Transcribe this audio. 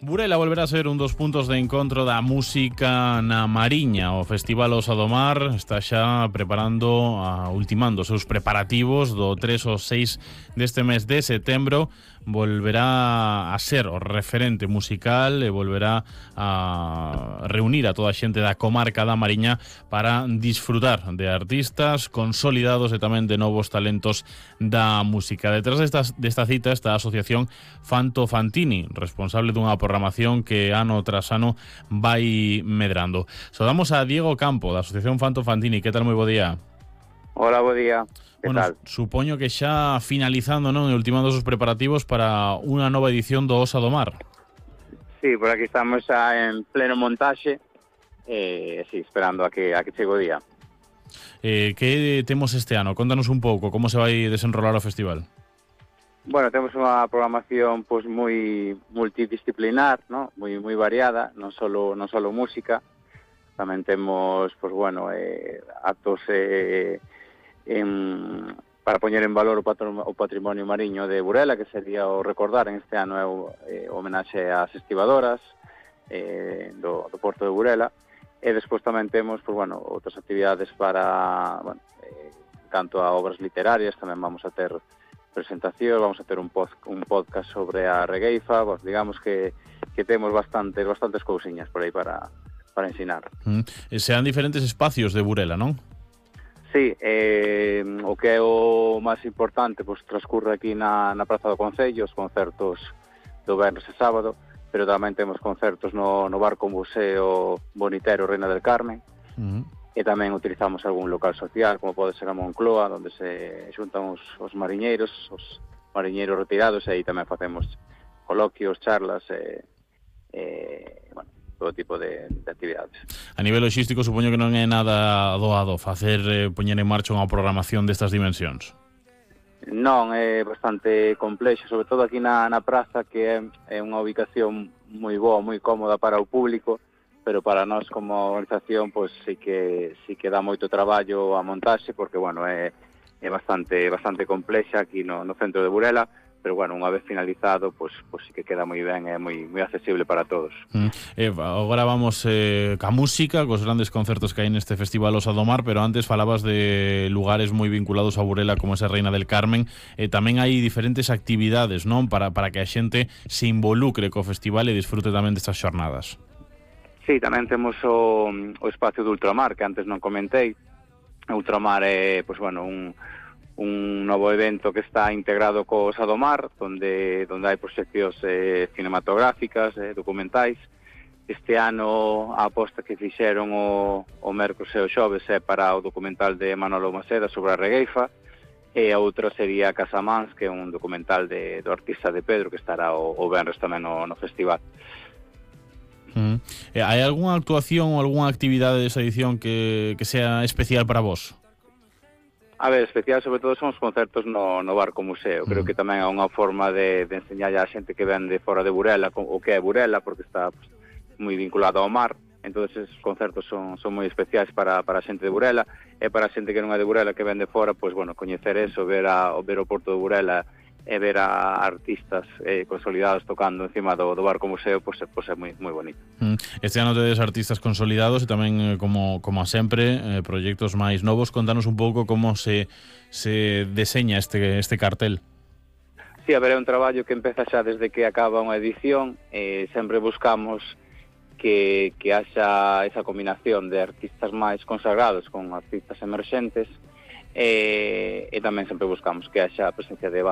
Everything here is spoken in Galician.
Burela volverá a ser un dos puntos de encontro da música na Mariña. O Festival Osa do Mar está xa ultimando os seus preparativos do 3 ao 6 deste mes de setembro. Volverá a ser o referente musical e volverá a reunir a toda a xente da comarca da Mariña para disfrutar de artistas consolidados e tamén de novos talentos da música. Detrás desta cita está a Asociación Fanto Fantini, responsable dunha programación que ano tras ano vai medrando. Saudamos a Diego Campo, da Asociación Fanto Fantini. Que tal? Moi bo día. Hola, bo día. Que tal? Supoño que xa finalizando, non, e ultimando os preparativos para unha nova edición do Osa do Mar. Sí, por aquí estamos xa en pleno montaxe, sí, esperando a que chegue o día. Que temos este ano? Contanos un pouco como se vai desenrolar o festival. Bueno, temos unha programación pois moi multidisciplinar, ¿no? Moi variada, non solo música. Tamén temos, pois bueno, actos para poñer en valor o patrimonio mariño de Burela, que sería o recordar en este ano é o homenaxe ás estivadoras do Porto de Burela. E despois tamén temos, pois bueno, outras actividades para, bueno, canto a obras literarias, tamén vamos a ter presentación, vamos a ter un podcast sobre a regueifa, pues digamos que temos bastantes cousiñas por aí para ensinar. Sean diferentes espacios de Burela, non? Sí, o que é o máis importante, pois transcurre aquí na Praza do Concello, os concertos do venres e sábado, pero tamén temos concertos no Barco Museo Bonitero Reina del Carmen, e tamén utilizamos algún local social, como pode ser a Moncloa, onde se xuntan os mariñeiros retirados, e aí tamén facemos coloquios, charlas, bueno, todo tipo de actividades. A nivel logístico, supoño que non é nada doado poñer en marcha unha programación destas dimensións. Non, é bastante complexo, sobre todo aquí na praza, que é unha ubicación moi boa, moi cómoda para o público, pero para nós como organización pois sí que dá moito traballo a montaxe, porque bueno, é bastante complexa aquí no centro de Burela, pero bueno, unha vez finalizado, pois sí que queda moi ben, é moi accesible para todos. Agora vamos ca música, cos grandes concertos que hai neste Festival Osa do Mar, pero antes falabas de lugares moi vinculados a Burela como esa Reina del Carmen. Tamén hai diferentes actividades, non, para que a xente se involucre co festival e disfrute tamén destas xornadas. Sí, tamén temos o espacio do Ultramar, que antes non comentei. O Ultramar é, pois bueno, un novo evento que está integrado co Osa do Mar, onde hai proxeccións cinematográficas, documentais. Este ano a aposta que fixeron o mércores e o xoves é para o documental de Manolo Maceda sobre a regueifa, e a outra sería Casamans, que é un documental do artista de Pedro, que estará o venres tamén no festival. Hai algunha actuación ou algunha actividade desa edición que sea especial para vos? A ver, especial sobre todo son os concertos no Barco Museo. Creo que tamén é unha forma de enseñar a xente que ven de fora de Burela o que é Burela, porque está pues, moi vinculado ao mar. Entón, esos concertos son moi especiais para a xente de Burela, e para a xente que non é de Burela, que ven de fora, pues, bueno, coñecer eso, ver o Porto de Burela e ver a artistas consolidados tocando encima do Barco Museo, pues é moi bonito. Este ano tedes artistas consolidados e tamén, como a sempre, proxectos máis novos. Contanos un pouco como se deseña este cartel. Sí, a ver, é un traballo que empeza xa desde que acaba unha edición, sempre buscamos que haxa esa combinación de artistas máis consagrados con artistas emerxentes, e tamén sempre buscamos que haxa presencia de